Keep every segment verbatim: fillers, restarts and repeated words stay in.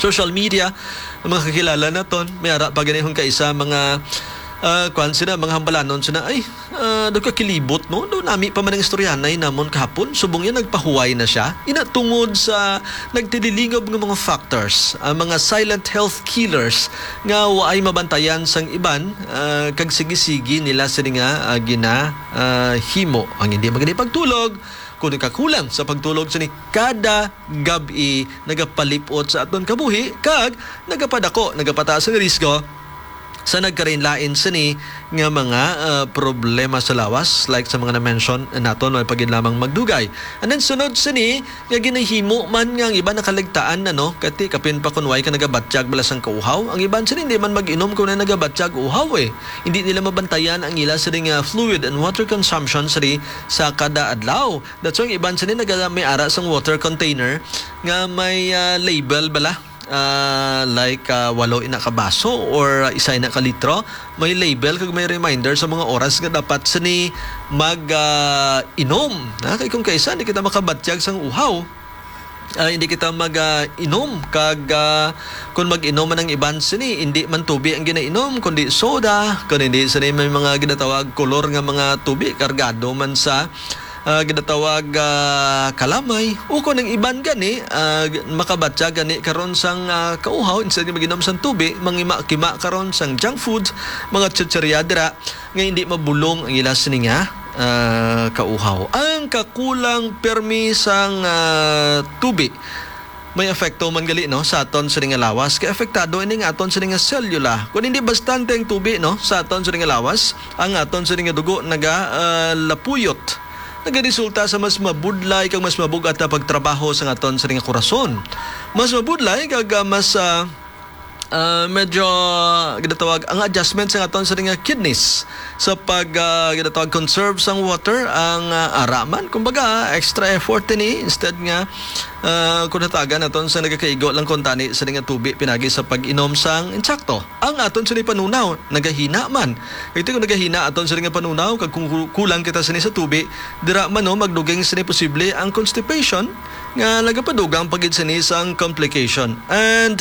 social media, ang mga kakilala naton, may ara pa ganihon ka isa, mga, ah, kwan sila, mga hambalanon sila, "Ay, ah, daw kakilibot, no? Daw nami pa man ang istoryanay namon kahapon, subong yan nagpahuway na siya." Ina tungod sa nagtililingob nga mga factors, ang mga silent health killers nga waay mabantayan sang iban, ah, kag sige-sige nila sini nga, ah, gina, ah, himo. Ang hindi magani pagtulog, kung nagkakulang sa pagtulog sini kada gab-i, nagapalipot sa aton kabuhi kag nagapadako, nagapataas ang risgo sa nagkalain-lain sini nga mga, ah, problema sa lawas, like sa mga na-mention naton, wala pa gid lamang magdugay. And then sunod sini nga ginahimo man nga ang iban nakaligtaan na, no, kati kapin pa kun way ka nagabatyag bala sang kauhaw, ang iban sini hindi man mag-inom kung na nagabatyag uhaw eh. Hindi nila mabantayan ang ila sini nga fluid and water consumption sini sa kada adlaw. That's why ang iban sini naga may ara sang water container nga may, ah, label bala, ah, like, ah, walo ina ka baso or isa ina ka litro. May label kag may reminder sa mga oras nga dapat sini mag, ah, inom. Ha? Kay kung kaisa, hindi kita makabatyag sang uhaw. Ah, hindi kita mag, ah, inom. Kag, ah, kung mag-inom man ang iban sini, hindi man tubi ang ginainom, kundi soda. Kung hindi sini, may mga ginatawag kolor nga mga tubi, kargado man sa, ah, ginatawag, ah, kalamay. O kung ang iban gani, ah, g- makabatya gani karon sang, ah, kauhaw, instead nga mag-inom sang tubi, mangima-kima karon sang junk food, mga chichirya dira, nga hindi mabulong ang ila sini nga, ah, kauhaw. Ang kakulang permi sang, ah, tubi may epekto man gali, no, sa aton sini nga lawas. Kay apektado ini nga aton sini nga selula. Kung hindi bastante ang tubi, no, sa aton sini nga lawas, ang aton sini nga dugo naga, ah, lapuyot. Nagaresulta sa mas mabudlay kag mas mabugat na pagtrabaho sa aton sini nga korason. Mas mabudlay kag, ah, mas, ah, ah, medyo ginatawag ang adjustment sa aton sini nga kidneys sa pag, ah, ginatawag conserve sang water ang, ah, ara man. Kumbaga, extra effort ini instead nga, ah, kung natagan naton sa nagakaigo lang kuntani sini nga tubi pinagi sa pag-inom sang insakto. Ang aton sini panunaw nagahina man. Ito kung nagahina aton sini nga panunaw kag kung ku- kulang kita sini sa tubi, dira man, no, magduging sini posible ang constipation nga nagapadugang pa gid sini sang complication. And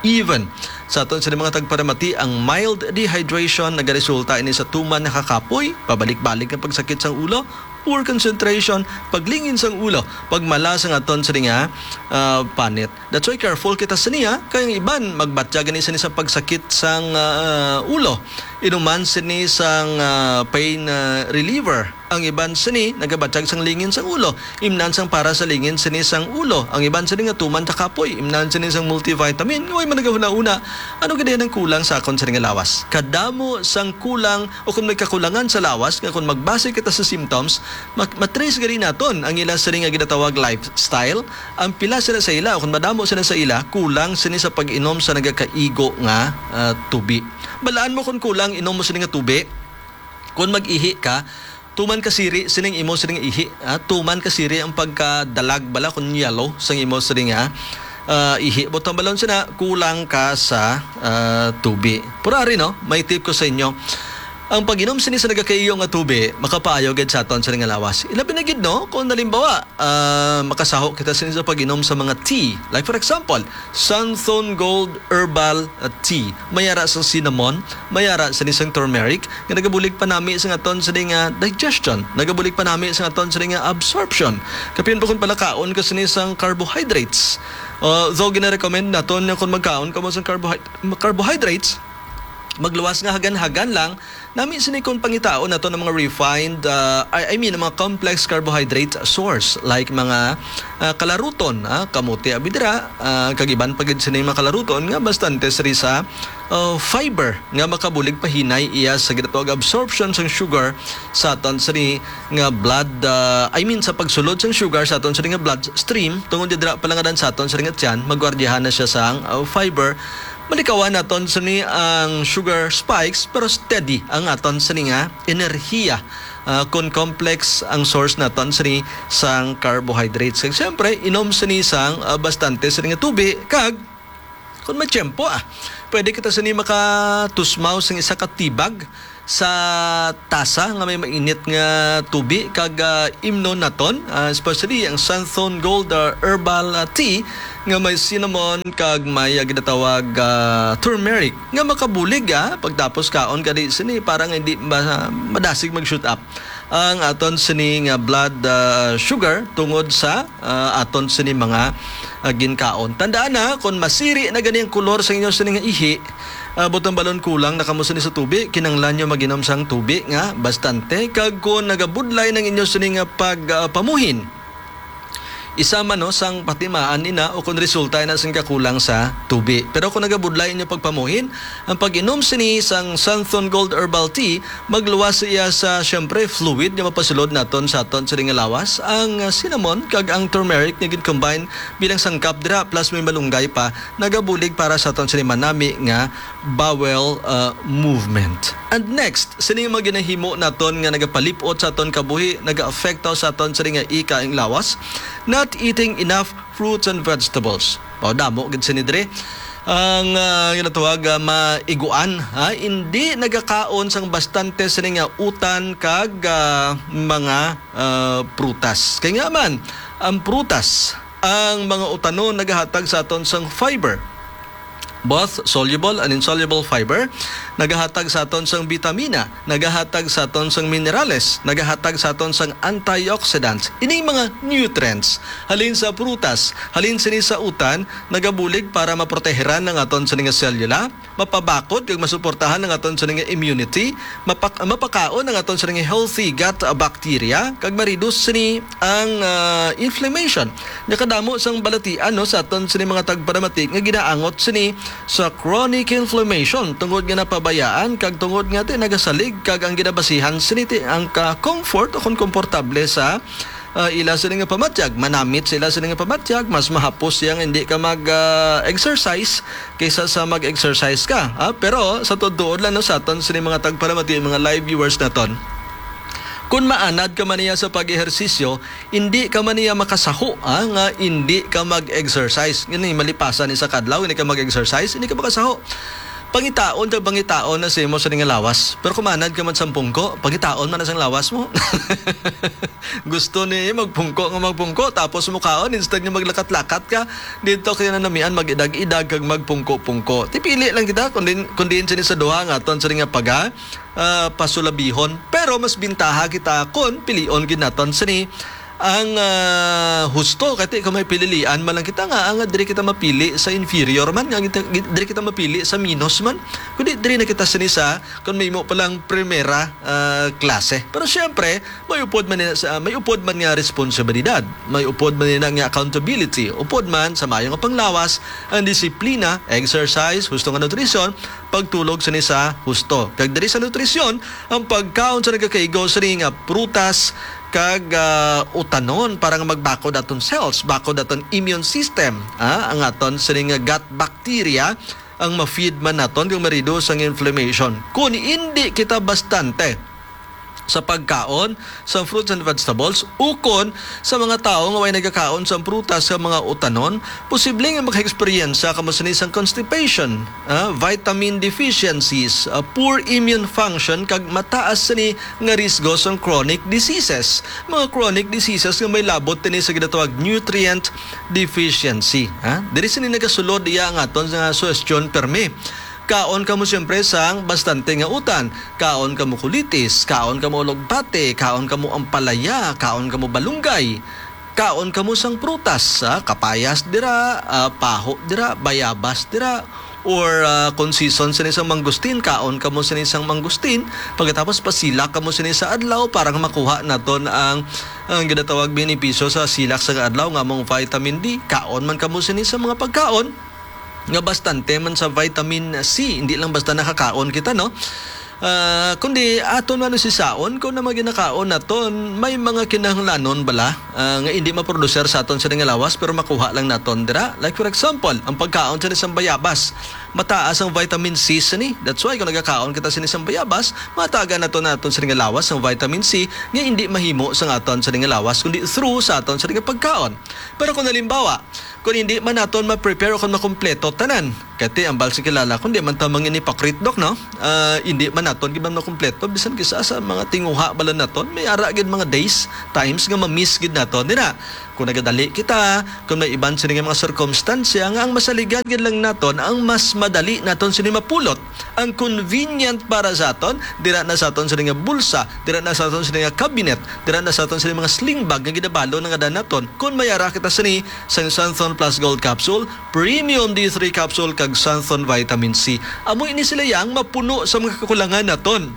even sa aton sini mga tagparamati, ang mild dehydration nagaresulta ini sa tuman nga kakapoy, pabalik-balik nga pagsakit sang ulo, poor concentration, paglingin sang ulo, pagmala sang aton sini nga, ah, panit. That's why careful kita sini, ha, kay ang iban magbatya gani sini sa pagsakit sang, ah, ulo. Inuman sini sang, ah, pain, ah, reliever. Ang iban sini nagabatyag sang lingin sang ulo, imnan sang para sa lingin sini sang ulo. Ang iban sini nga tuman sa kapoy, imnan sini sang multivitamin. Way man nagahuna-una, ano gid ang kulang sa akon sini nga lawas? Kadamo sang kulang o kung may kakulangan sa lawas nga kung magbase kita sa symptoms, mak- matrace gani naton ang ila sini nga ginatawag lifestyle. Ang pila sila sa ila, o kung madamo sila sa ila, kulang sini sa pag-inom sa nagakaigo nga, ah, tubi. Balaan mo kung kulang inom mo sini nga tubi. Kung mag-ihi ka, tuman ka siri sining imo sining ihi, ah, tuman ka siri ang pagkadalag bala kung yellow sang imo sining, ah, ah, ihi. Butang balon sina, kulang ka sa, ah, tubi. Pero ari, no, may tip ko sa inyo. Ang pag-inom sini sa nagakaigo nga tubi makapaayo gid sa aton sini nga lawas. Ilabi na gid, no, kung nalimbawa, ah, makasaho kita sini sa pag-inom sa mga tea. Like for example, Santhon Gold Herbal, ah, Tea. May ara sang cinnamon, may ara sini sang turmeric, nga nagabulig panami sa aton sini nga digestion, nagabulig panami sa aton sini nga absorption. Kapin pa kung palakaon ka sini sang carbohydrates. Uh, though gina-recommend naton nga kung magkaon ka mo sang carbohyd- carbohydrates, magluwas nga hagan-hagan lang, nami sini kung pangitaon nato ng mga refined, uh, I, I mean, mga complex carbohydrate source like mga, uh, kalaruton, ah, kamote abi dira, ah, kag iban pa gid sini mga kalaruton nga bastante siri sa, uh, fiber nga makabulig pahinay iya sa ginatawag absorption sang sugar sa aton sini nga blood, ah, I mean, sa pagsulod sang sugar sa aton sini nga bloodstream, tungod dira palangadan sa aton sini nga tiyan, magwardiyahan na siya sang, uh, fiber. Malikawan naton sini ang sugar spikes, pero steady ang aton sini nga enerhiya, ah, kon complex ang source naton sini sang carbohydrates. Kag siyempre, inom sini sang, ah, bastante sini nga tubi, kag kon may tiyempo, ah, pwede kita sini makatusmaw sang isa ka tea bag sa tasa nga may mainit nga tubi kag, ah, imnon naton, ah, especially ang Santhon Gold, ah, Herbal, ah, Tea, nga may cinnamon kag may, ah, ginatawag, ah, turmeric nga makabulig, ah, pagtapos kaon ka di sini para nga hindi ma-, madasig mag-shoot up ang aton sini nga blood, ah, sugar tungod sa, ah, aton sini mga, ah, ginkaon. Tandaan na, kung masiri na gani ang kolor sa inyo sini nga ihi, ah, butang balon kulang na kamo sini sa tubi, kinanglan nyo mag-inom sang tubi nga bastante. Kag kung nagabudlay ng inyo sini nga pag, ah, pamuhin, isa man, no, sang patimaan ina o kon resulta ina sing kakulang sa tubi. Pero kung nagabudlay inyo pagpamuhin, ang pag-inom sini sang Santhon Gold Herbal Tea, magluwas iya sa, siyempre, fluid nga mapasulod naton sa aton sini nga lawas. Ang, ah, cinnamon kag ang turmeric nga gin-combine bilang sangkap dira, plus may malunggay pa, nagabulig para sa aton sini manami nga bowel, uh, movement. And next, sini nga mga ginahimo naton nga nagapalip-ot sa aton kabuhi, nagaapekto sa aton sini nga ika ang lawas, not eating enough fruits and vegetables. Mao damo gid sini diri. Ang, ah, ginatawag, ah, maiguan, ha? Hindi nagakaon sang bastante sini nga utan kag, ah, mga, ah, prutas. Kay nga man, ang prutas, ang mga utanon nagahatag sa aton sang fiber, both soluble and insoluble fiber, nagahatag sa aton sang bitamina, nagahatag sa aton sang minerales, nagahatag sa aton sang antioxidants. Ining mga nutrients halin sa prutas, halin sini sa utan, nagabulig para maproteheran ang aton sini nga selula, mapabakod kag masuportahan ang aton sini nga immunity, mapak-, mapakaon ang aton sini nga healthy gut bacteria, kag ma-reduce sini ang, ah, inflammation. Nakadamo sang balatian, no, sa aton sini mga tagparamati nga ginaangot sini sa chronic inflammation tungod nga napabayaan kag tungod nga ti nagasalig kag ang ginabasihan sini ti ang ka-comfort o kon komportable sa, ah, ila sini nga pamatyag. Manamit sa ila sini nga pamatyag, mas mahapos siya nga hindi ka mag, ah, exercise kaysa sa mag-exercise ka. Ah, pero sa tuod-tuod lang, no, sa aton sini mga tagparamati, mga live viewers naton, kung maanad ka man niya sa pag-ehersisyo, hindi ka man niya makasaho, ah, nga hindi ka mag-exercise. Gani, malipasan ni sa kadlaw, hindi ka mag-exercise, hindi ka makasaho. Pangitaon kag pangitaon na sa imo sa nga lawas. Pero kung maanad ka man sa pungko, pangitaon man na sang lawas mo. Gusto ni magpungko nga magpungko, tapos mukaon, instead nga maglakat-lakat ka dito kaya na namian, mag-idag-idag kag magpungko-pungko. Tipili lang kita kung din, kung din sini sa duha nga aton sini nga paga, ah, pasulabihon. Pero mas bintaha kita kung pilion gid naton sini ang, ah, husto. Kati kung may pililian man lang kita nga, nga diri kita mapili sa inferior man, nga kita, diri kita mapili sa minus man, kundi diri na kita sini sa, kung may mo palang primera, ah, klase. Pero siyempre, may upod man nila sa, may upod man nga responsibilidad, may upod man nila nga accountability, upod man sa mayo nga panglawas, ang disiplina, exercise, husto nga nutrisyon, pagtulog sini sa husto. Kag diri sa nutrisyon, ang pagkaon sa nagakaigo sini nga prutas kag, ah, utanon para nga magbakod aton cells, bakod aton immune system, ah, ang aton sini nga gut bacteria, ang ma-feed man naton kag ma-reduce ang inflammation. Kung hindi kita bastante sa pagkaon sa fruits and vegetables, ukon sa mga tawo nga way nagakaon sa prutas sa mga utanon, posible nga maka-eksperyensya kamo sini sang constipation, ah, vitamin deficiencies, ah, poor immune function, kag mataas sini nga risgo sang chronic diseases. Mga chronic diseases nga may labot tini sa ginatawag nutrient deficiency, ha? Diri sini nagasulod iya ang aton nga suhestyon permi. Kaon kamo siyempre sang bastante nga utan. Kaon kamo kulitis, kaon kamo ulugbati, kaon kamo ampalaya, kaon kamo balunggay. Kaon kamo sang prutas, ah, kapayas dira, ah, paho dira, bayabas dira, or, ah, kung season sini sang mangustin, kaon kamo sini sang mangustin. Pagkatapos pasilak kamo sini sa adlaw para nga makuha naton ang, ang ginatawag benepisyo sa silak sa adlaw nga among vitamin D. Kaon man kamo sini sa mga pagkaon nga bastante man sa vitamin C, hindi lang basta nakakaon kita, no? Ah, kundi aton man sisaon kung na maginakaon naton, may mga kinahanglanon bala, ah, nga hindi maproduser sa aton sa nga lawas, pero makuha lang naton dira. Like, for example, ang pagkaon sa isang bayabas, mataas ang vitamin C sini. That's why kung nagakaon kita sa isang bayabas, matagan nato naton sa nga lawas ang vitamin C nga hindi mahimo sa aton sa nga lawas, kundi through sa aton sa nga pagkaon. Pero kung halimbawa, kung hindi man naton ma-prepare o kung makumpleto tanan, kati ang bal sa kilala, kung di man ta mangin hypocrite, Dok, no? Ah, hindi man naton gid man makumpleto, bisan kisa sa mga tinguha bala naton, may ara gid mga days, times nga ma-miss gid naton. Di na, Kung nagadali kita, kung may iban sini nga mga sirkumstansya nga ang masaligan gid lang naton, ang mas madali naton sini mapulot, ang convenient para sa aton, dira na sa aton sini nga bulsa, dira na sa aton sini nga cabinet, dira na sa aton sini mga sling bag nga ginabalon nga daan naton. Kung may ara kita sini sa Santhon Plus Gold Capsule, Premium D three Capsule, kag Santhon Vitamin C. Amo ini sila yang mapuno sa mga kakulangan naton.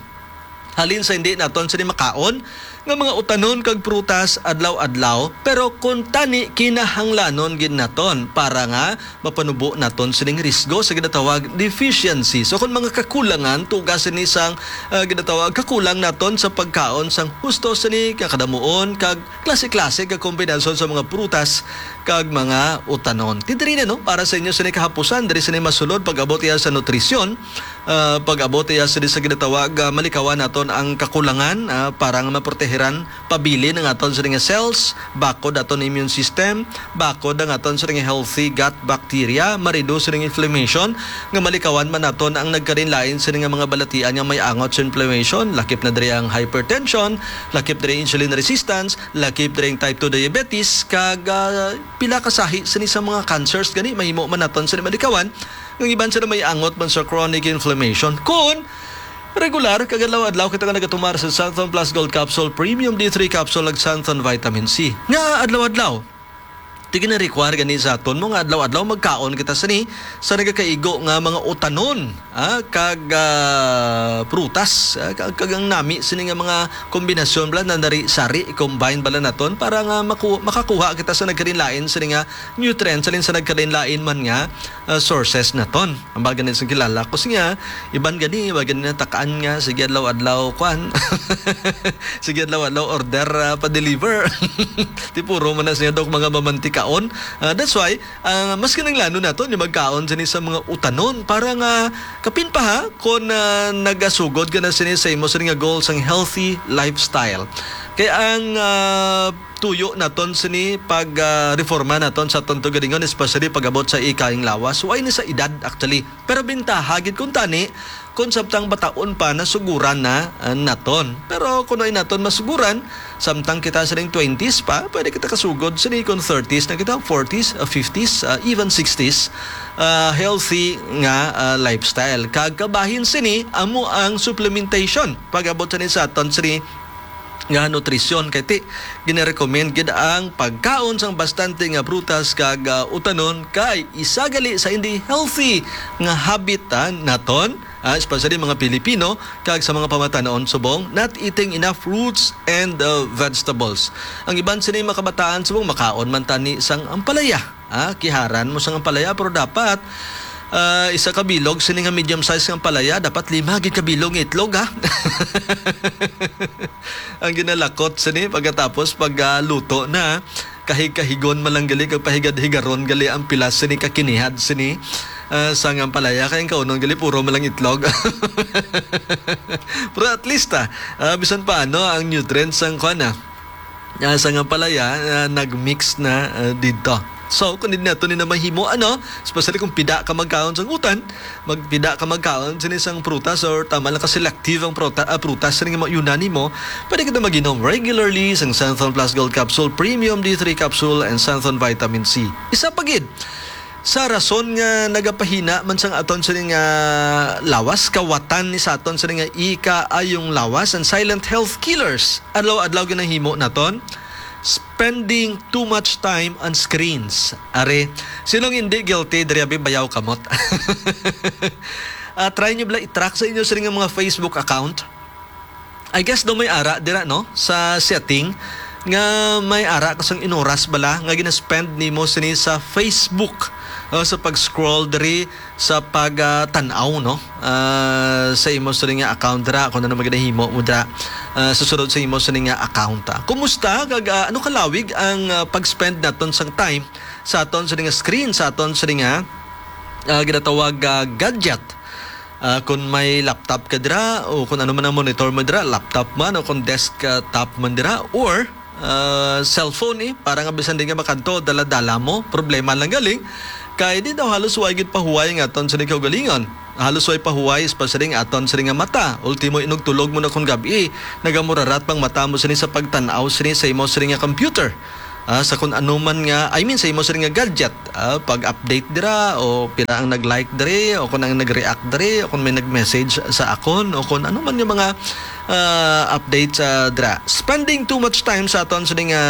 Halin sa hindi naton sini makaon nga mga utanon kag prutas adlaw-adlaw, pero kung tani kinahanglanon gid naton para nga mapanubo naton sining risgo sa ginatawag deficiency. So kung mga kakulangan, tuga sini sang, ah, ginatawag kakulang naton sa pagkaon sang husto sini nga kadamuon kag klase-klase nga kombinasyon sa mga prutas kag mga utanon. Ti diri na, no, para sa inyo sini kahapusan, diri sini masulod pag-abot iya sa nutrisyon, ah, pag-abot iya sini sa ginatawag, ah, malikawan naton ang kakulangan, ah, para nga maprotehiran pabilin ang aton sini nga cells, bakod aton immune system, bakod ang aton sini nga healthy gut bacteria, ma-reduce sini nga inflammation, nga malikawan man naton ang nagkalain-lain sini nga mga balatian nga may angot sa inflammation, lakip na diri ang hypertension, lakip diri insulin resistance, lakip diri ang type two diabetes, kag, ah, pila ka sahi sini sa mga cancers gani mahimo man naton sini malikawan, nga iban sila may angot man sa chronic inflammation. Kun regular kag adlaw-adlaw kita nga nagatumar sa Santhon Plus Gold Capsule, Premium D three Capsule, ug Santhon Vitamin C. Nga adlaw-adlaw, ti gina-require gani sa aton mo nga adlaw-adlaw magkaon kita sini sa nagakaigo nga mga utanon, ah, kag, ah, prutas, ah, kag, kag ang nami sini nga mga kombinasyon bala na nari sari, i-combine bala naton para nga maku-, makakuha kita sa nagkalain-lain sini nga nutrients, halin sa nagkalain-lain man nga, ah, sources naton. Ang baga ni sa kilala ko siya, iban gani, iban gani na takaan nga, sige adlaw-adlaw, kwan. Sige adlaw-adlaw order, ah, pa-deliver. Ti puro man na siya, Dok, mga mamantikaon. Ah, that's why, ah, mas kinahanglanon naton yung magkaon sini sa mga utanon para nga kapin pa, ha, kung, ah, nagasugod ka na sini sa imo sini nga goal sang healthy lifestyle. Kay ang, ah, tuyo naton sini pag, ah, reforma naton sa aton tugalingon, especially pag-abot sa ikaing lawas. Why ni sa edad, actually? Pero bintaha gid kung tani, kung samtang bataon pa, nasuguran na, ah, naton. Pero kung ay naton masuguran, samtang kita sining twenties pa, pwede kita kasugod sini kung thirties na kita, forties, ah, fifties, ah, even sixties, ah, healthy nga, ah, lifestyle. Kag kabahin sini, amo ang supplementation. Pag-abot sini sa aton sini nga nutrisyon, kay ti ginarecommend gid ang pagkaon sang bastante nga prutas kag, ah, utanon, kay isa gali sa hindi healthy nga habit, ah, naton, ah, especially mga Pilipino kag sa mga pamatanon subong not eating enough fruits and, ah, vegetables. Ang iban sini mga kabataan subong makaon man tani sang ampalaya. Ah, kiharan mo sang ampalaya, pero dapat, ah, isa ka bilog sini nga medium size nga ampalaya, dapat lima gid ka bilog nga itlog, ha? Ang ginalakot sini pagkatapos pag, ah, luto na, kahig-kahigon man lang gali kag pahigad-higaron gali ang pilas sini ka kinihad sini, ah, sang ampalaya, kay ang kaunon gali puro man lang itlog. Pero at least, ah, ah, bisan paano ang nutrients sang kuan, ah, ah, sang ampalaya, ah, nag-mix na, ah, didto. So, kung hindi nato ni na mahimo, ano, especially kung pida ka magkaon sang utan, magpida ka magkaon sini sang prutas or tama lang ka selective ang pruta-, ah, prutas sini nga mauna nimo, pwede kita mag-inom regularly sang Santhon Plus Gold Capsule, Premium D three Capsule, and Santhon Vitamin C. Isa pa gid, sa rason nga nagapahina man sang aton sini nga lawas, kawatan ni sa aton sini nga ikaayong lawas, ang silent health killers. Adlaw-adlaw ginahimo naton, spending too much time on screens. Are, sinong hindi guilty diri, abi, bayaw kamot? Ah, try nyo bala i-track sa inyo sini nga mga Facebook account. I guess daw may ara dira, no, sa setting nga may ara ka sang inuras bala nga gina-spend nimo sini sa Facebook, uh, sa pag-scroll diri sa pag, ah, tan-aw, no, ah, sa imo sini nga account dira, kung ano man ginahimo mo dira, ah, sa sulod sa imo sini nga account, ah. Kumusta kag, ah, ano kalawig ang, ah, pag-spend naton sang time sa aton sini nga screen, sa aton sini nga, ah, ginatawag, ah, gadget? Ah, kung may laptop ka dira o kung ano man ang monitor mo dira, laptop man o kung desk, ah, top man dira, or, ah, cellphone, eh, para nga bisan di nga makadto, dala-dala mo, problema lang gali. Kay di daw halos way gid pahuway nga aton sini kaugalingon. Halos way pahuway, especially nga aton sini nga mata. Ultimo, inugtulog mo na kung gab-i, nagamurarat pang mata mo sini sa pagtan-aw sini sa imo sini nga computer. ah, sa kung ano man nga, I mean, sa imo sini nga gadget, ah, pag-update dira, o pila ang nag-like diri, o kung ang nag-react diri, o kung may nag-message sa akon, o kung ano man nga mga, ah, update sa dira. Spending too much time sa aton sini nga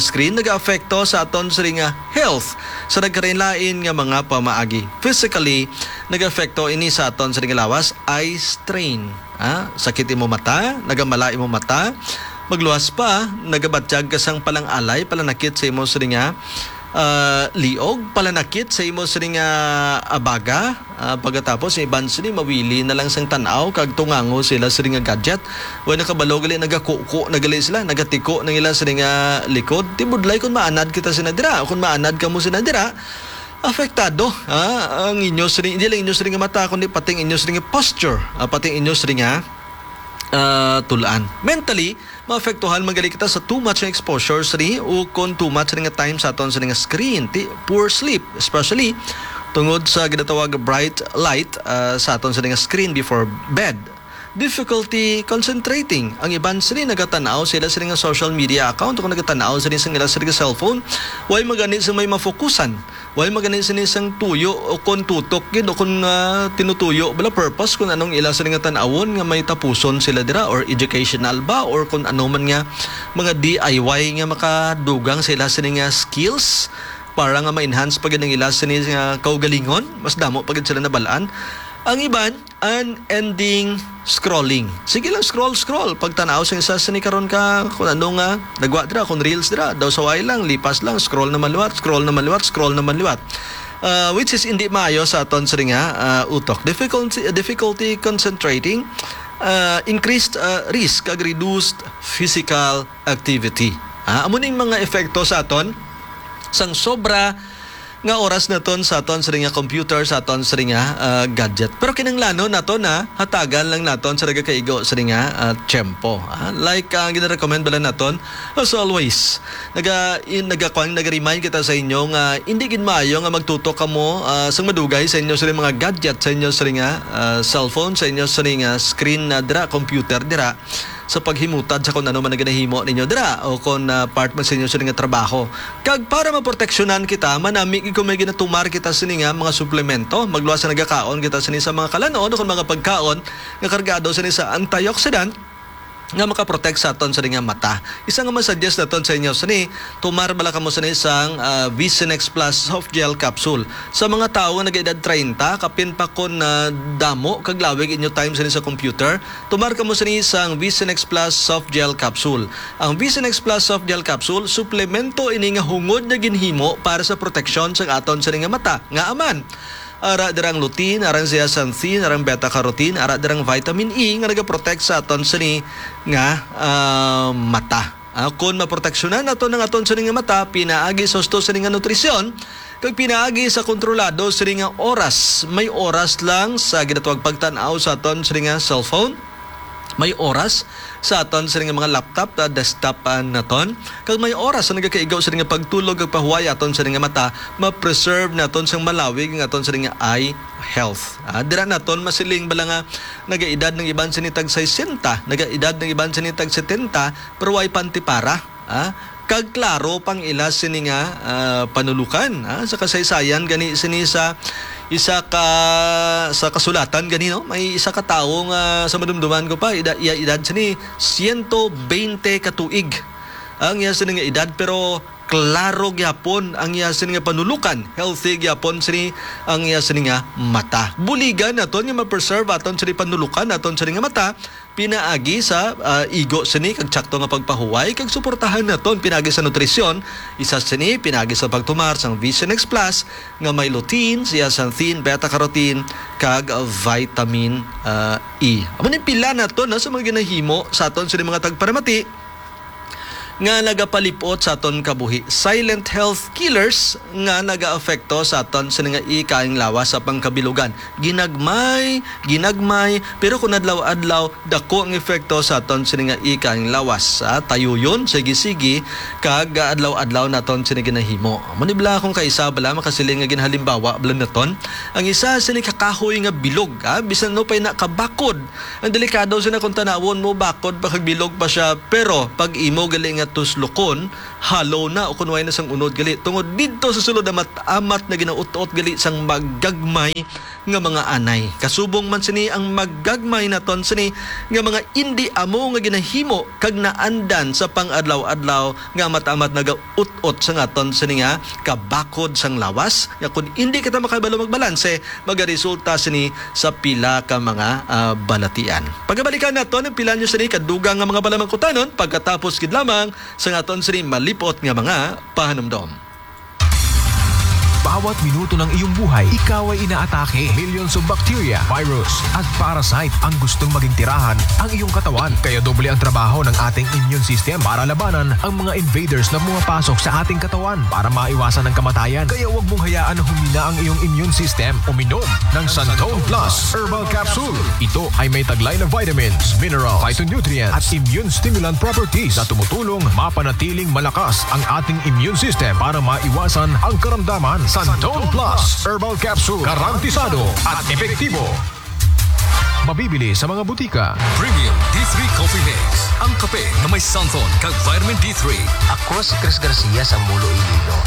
screen nag-aapekto sa aton sini nga health sa nagkalain-lain nga mga pamaagi. Physically, nag-aapekto ini sa aton sini nga lawas, eye strain. Ah, sakit imo mata, nagamala imo mata, magluwas pa, nagabatyag ka sang palang-alay, palanakit sa imo sini nga, ah, liog, palanakit sa imo sini nga abaga. Ah, pagkatapos, ang iban sini mawili na lang sang tan-aw kag tungango sila sini nga gadget. Way nakabalo gali, nagakuko na gali sila, nagatiko na ila sini nga likod. Ti budlay kung maanad kita sina dira, o kung maanad kamo sina dira, apektado, ha? Ang inyo sini, hindi lang inyo sini nga mata, kundi pati ang inyo sini nga posture, ah, pati ang inyo sini nga, ah, tulaan. Mentally, maapektuhan man gali kita sa too much nga exposure sini, o kon too much sini nga time sa aton sini nga screen, ti, poor sleep, especially tungod sa ginatawag bright light, ah, sa aton sini nga screen before bed. Difficulty concentrating. Ang iban sini nagatan-aw sila sini nga social media account o nagatan-aw sini sa ila sini nga cellphone. Way magani sa may mafokusan. Way magani sini sang tuyo o kon tutok gid o kon, ah, tinutuyo bala purpose kung anong ila sini nga tan-awon nga may tapuson sila dira or educational ba or kung ano man nga mga D I Y nga makadugang sa ila sini nga skills para nga ma-enhance pa gid ang ila sini nga kaugalingon, mas damo pa gid sila nabalaan. Ang iban, unending scrolling. Sige lang, scroll, scroll. Pagtan-aw sa isa sini karon ka, kung ano nga, nagwa dira, kung reels dira, daw saway lang, lipas lang, scroll na maliwat, scroll na maliwat, scroll na maliwat. Ah, which is hindi maayo sa aton sini nga, ah, utok. Difficulty, difficulty concentrating, ah, increased, ah, risk kag reduced physical activity. Ah, amo ning mga epekto sa aton sang sobra nga oras naton sa aton sini nga computer, sa aton sini nga, ah, gadget. Pero kinahanglanon naton na hatagan lang naton sa nagakaigo sini nga, ah, tiyempo. Ah, like, ah, ginarecommend bala naton, as always, naga, in, nagakuan, naga-remind kita sa inyo nga hindi gid maayo nga magtutok kamo, ah, sang madugay sa inyo sini mga gadget, sa inyo sini nga, ah, cellphone, sa inyo sini nga screen na dira, computer dira, sa paghimutad sa kung ano man ang ginahimo ninyo dira o kung, ah, part man sa inyo sini nga trabaho. Kag para maproteksyonan kita, manami gid kung may ginatumar kita sini nga mga suplemento, magluwas sa nagakaon kita sini sa mga kalan-on o kung mga pagkaon nga kargado sini sa antioxidant nga makaprotect sa aton sini nga mata. Isa nga masuggest naton sa inyo sini, tumar bala kamo sini sang, ah, Vision X Plus Soft Gel Capsule. Sa mga tawo nga nag-edad treinta, kapin pa kon, ah, damo kag lawig inyo time sini sa computer, tumar kamo sini sang Vision X Plus Soft Gel Capsule. Ang Vision X Plus Soft Gel Capsule, suplemento ini nga hungod nga ginhimo para sa proteksyon sang aton sini nga mata. Ngaa man? Ara dira ang lutein, ara ang zeaxanthin, ara ang beta carotene, ara dira ang vitamin E nga nagaprotect sa aton sini nga, ah, mata. Ah, kon maproteksyonan naton ang aton sini nga mata, pinaagi sa husto sini nga nutrisyon, kag pinaagi sa kontrolado sini nga oras. May oras lang sa ginatawag pagtan-aw sa aton sini nga cellphone. May oras sa aton sini nga mga laptop, ah, desktop, ah, naton. Kag may oras sa nagakaigo sini nga pagtulog kag pahuway aton sini nga mata, ma-preserve naton sang malawig ang aton sini nga eye health. Ah, dira naton masiling bala nga nagaedad ng iban sini tag sesenta, nagaedad ng iban sini tag setenta, pero way pantipara. Ah, kag klaro pang ila sini nga, ah, panulukan, ah, sa kasaysayan gani sini sa isa ka, sa kasulatan gani, no? May isa ka tawo nga sa madumduman ko pa, ida-, iya edad sini siyento bente ka tuig ang iya sini nga edad, pero klaro gyapon ang iya sini nga panulukan, healthy gyapon sini ang iya sini nga mata. Buligan naton nga ma-preserve aton sini panulukan, aton sini nga mata, pinaagi sa, ah, igo sini kag tsakto nga pagpahuway kag suportahan naton pinaagi sa nutrisyon. Isa sini pinaagi sa pagtumar sang Vision X Plus nga may lutein, zeaxanthin, beta carotene kag vitamin, ah, E. Amo ni pila naton, no, sa mga ginahimo sa aton sini mga tagparamati nga nagapalipot sa aton kabuhi. Silent health killers nga nagaapekto sa aton sini nga ikaayong lawas sa pangkabilugan. Ginagmay, ginagmay, pero kung adlaw-adlaw, dako ang epekto sa aton sini nga ikaayong lawas. Ah, tayuyon, sige-sige, kag adlaw-adlaw naton sini ginahimo. Amo ni bala akong kaisa bala makasiling nga ginhalimbawa bala naton. Ang isa sini kakahoy nga bilog, ah, bisan no pa'y nakabakod. Ang delikado sini kung tanawon mo, bakod pa kag bilog pa siya, pero pag imo gali nga tuslukon, halo na o kun way na sang unod gali, tungod didto sa sulod amat-amat na ginaut-ot gali sang magagmay nga mga anay. Kasubong man sini ang magagmay naton sini nga mga indi amo nga ginahimo kag naandan sa pang-adlaw-adlaw nga amat-amat nagaut-ot sa ngaton sini nga kabakod sang lawas, nga kun indi kita makabalo magbalanse, magaresulta sini sa pila ka mga, ah, balatian. Pagabalikan naton ang pila nyo sini kadugang nga mga palamangkutanon pagkatapos gid lamang sa ngaton sini malipot nga mga pahanumdom. Bawat minuto ng iyong buhay, ikaw ay inaatake. Millions of bacteria, virus, at parasite ang gustong maging tirahan ang iyong katawan. Kaya doble ang trabaho ng ating immune system para labanan ang mga invaders na pumapasok sa ating katawan para maiwasan ang kamatayan. Kaya huwag mong hayaan na humina ang iyong immune system. Uminom ng Santon Plus Herbal Capsule. Ito ay may taglay na vitamins, mineral, phytonutrients, at immune stimulant properties na tumutulong mapanatiling malakas ang ating immune system para maiwasan ang karamdaman. Santon Plus Herbal Capsule, garantisado at epektibo. Mabibili sa mga butika. Premium D three Coffee Mix. Ang kape na may santon kag vitamin D three. Ako si Chris Garcia sa Mulo, Iloilo.